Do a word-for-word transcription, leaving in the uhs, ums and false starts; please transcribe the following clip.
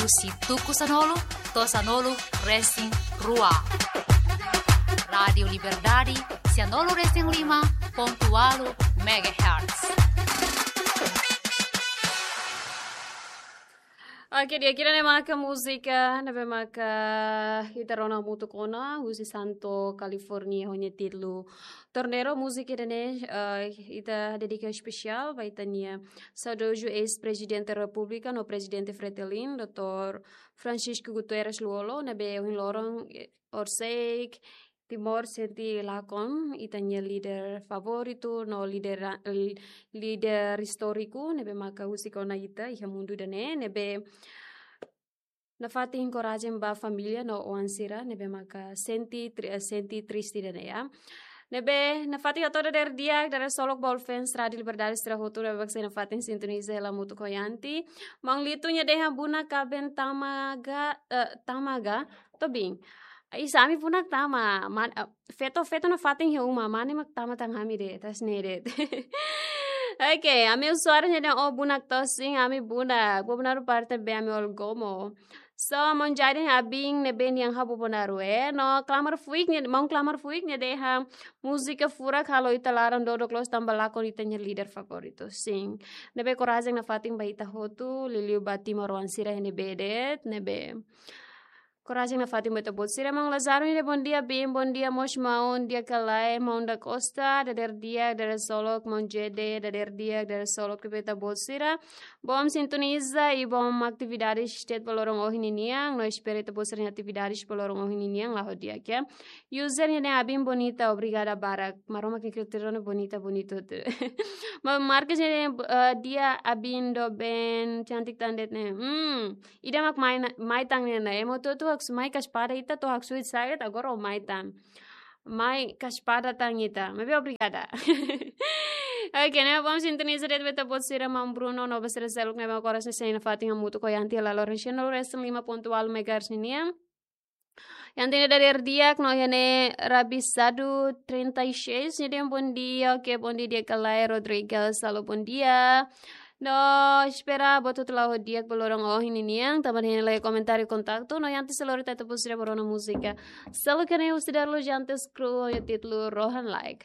husi tuku sanulu to'o sanulu resin rua. Rádiu Liberdade, sianulu resin lima pontu ualu megahertz. Oke, di'ak, ida-ne'e maka múzika ne'ebé maka ita rona hamutuk ona, husi Santo California, ho nia títulu Tornero. Múzika ida-ne'e, eh, ita dedika espesiál ba ita-nia saudozu eis-Prezidente Repúblika no Prezidente Fretilin, doutór Francisco Guterres Lú-Olo, ne'ebé ohin loron, eh, horiseik Timor sente lakon ita-nia líder favoritu no líder, l-, líder istóriku ne'ebé maka husik ona ita iha mundu ida-ne'e, ne'ebé nafatin korajen ba família no oan sira ne'ebé maka sente tri-, eh, sente triste ida-ne'e, ya. Ne'ebé nafatin hato'o dadeer di'ak, dadeer-solok ba all fans Rádiu Liberdade sira hotu ne'ebé mak sei nafatin sintoniza hela hamutuk ho Yanti. Maun Litu nia dehan bunak kaben tama ga, eh, tama ga, tobing. Isa, ami bunak tama, man, eh, feto, feto nafatin iha uma, mane mak tama tan ami de'it, tais ne'e de'it. Oke, ami usuáriu nia dehan ó bunak to'o sin, ami bunak, Bobonaro parte be ami Ol Gomo. So, maun Jaden Abin ne'ebé nia iha Bobonaro, eh, no Klamar Fuik nia, maun Klamar Fuik nia dehan múzika furak halo ita laran dodok loos tanba lakon ita-nia líder favoritu. Sin. Ne'ebé korajen nafatin ba ita hotu, liuliu ba timoroan sira iha ne'ebé de'it, ne'ebé korajen nafatin ba ita-boot sira. Maun Lazaro nia dehan bondia Bin, bondia mós maun di'ak ka lae, maun da Costa, dadeer di'ak, dadeer-solok, maun Jede, dadeer di'ak, dadeer-solok ba ita-boot sira. Bom sintoniza i bom atividades de'it ba loron ohin ninian, no espera ita-boot sira-nia atividades ba loron ohin ninian la'o di'ak, ya. User nia dehan Abin bonita, obrigada barak. Maromak nia kritério ne'e bonita, bonita hotu. Maun Marcos nia dehan, eh, di'ak Abin doben, cantik tan de'it ne'e. Hmm, ida mak mai na-, mai tan ne'e ona. Ema hotu-hotu haksoit, mai ka espada ita to'o haksoit saida, agora ó mai tan. Mai ka espada tan ita. Maibé obrigada. Oke, ne'e bom sintoniza de'it ba ita-boot sira, maun Bruno no ba sira seluk ne'ebé mak oras ne'e sei nafatin hamutuk ho Yanti hela loron sianulu resin lima pontu ualu megahertz ninian. Yanti nia dadeer di'ak no iha ne'e Rabisadu trinta e seis nia dehan bondia, oke, bondia di'ak ka lae Rodrigues, halo bondia. No espera buat hotu la'o di'ak ba loron ohin ninian, tanba ne'e iha ne'e komentáriu kontaktu, no Yanti sei lori ita-boot sira ba rona múzika. Selalu kene husi Darlo Jantes Crew, ho nia títulu Rohan Like.